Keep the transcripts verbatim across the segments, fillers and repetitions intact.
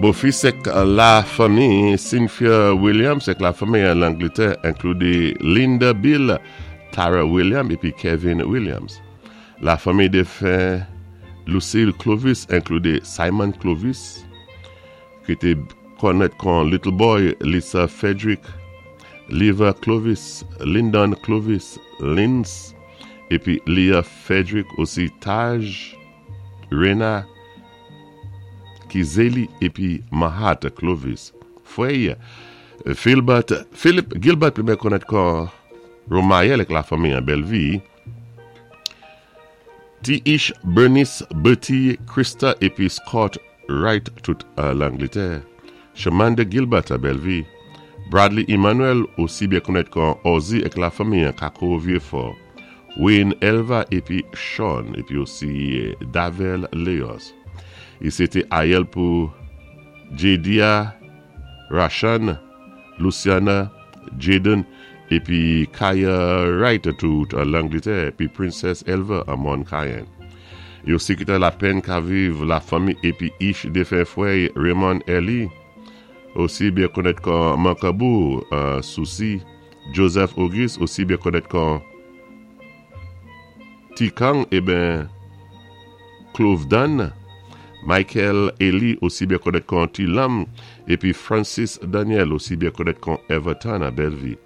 Bofis èk lafanmi Cynthia Williams èk lafanmi an Langlétè, enklidi Linda Bill, Tara Williams épi Kevin Williams. Lafanmi défen Lucille Clovis, enklidi Simon Clovis, ki té konnèt kon Little Boy, Lisa Frederick, Liva Clovis, Lyndon Clovis, Linz, épi Leah Frederick, osi Taj, Rena, Kizeli épi Mahat Clovis. Fwè, Philbert, Philip Gilbert, pli byen konnèt kon Romayel èk lafanmi an Bellevue. T. Ish, Bernice, Bertie, Krista épi Scott Wright, tout an Langlétè. Shamanda Gilbert a Bellevue. Bradley Emmanuel, osi byen konnèt kon Ozzy èk lafanmi an Kako Vieux-Fort. Wayne Elva épi Sean, épi osi Davel Leos. I sé té ayèl pou Jadia, Rashan, Luciana, Jaden, épi Kaya Wright tout an Langlétè, épi Princess Elva an Mon Cayenne. Yo osi kité lapenn ka viv lafanmi épi ich défen fwè Raymond Eli, osi byen konnèt kon Mankabou, euh, Souci, Joseph Auguste, osi byen konnèt kon Tikang, eh ben Clovedan, Michael Eli, osi byen konnèt kon Tilam, épi Francis Daniel, osi byen konnèt kon Everton a Bellevue.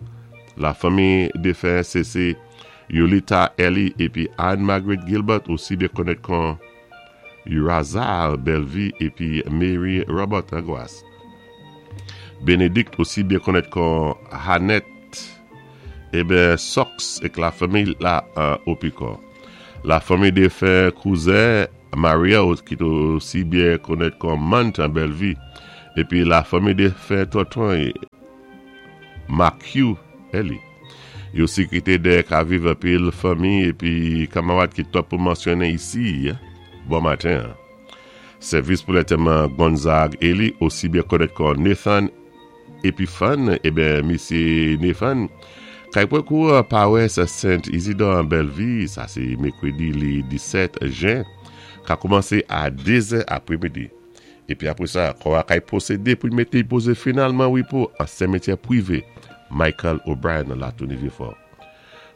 Lafanmi défen C C Yolita Eli épi Anne-Margaret Gilbert, osi byen konnèt kon Urazal Bellevue, épi Mary Robert Aguas. Bénédicte, osi byen konnèt kon Hanette, eh ben Sox èk lafanmi la euh, Opiko. Lafanmi défen kouzen Maria, ki osi byen konnèt kon Mant an Bellevue. Épi lafanmi défen tonton Matthew Eli. Yo osi kité dèyè ka viv anpil fanmi épi kanmarad ki twòp pou mansyonnen isi, bon maten. Sèvis pou lantèman Gonzague Eli, osi byen konnèt kon Nathan Epiphan, eh ben, misyé Nathan, kay pwan kou pawès Saint Isidore an Bellevue, sa sé mèkwédi li disèt jen, ka koumansé a dé zè aprèmidi. Épi apwé sa, kò a kay pwosédé pou mété pozé finalman wipo an simetyè pwivé Michael O'Brien nan Latouni Vieux-Fort.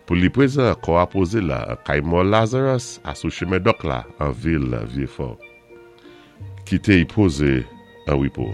Pou li pwézan, kò a pozé la, kay mò Lazarus, a sou chimen Dòk la, an vil Vieux-Fort. Kité y pozé an wipo.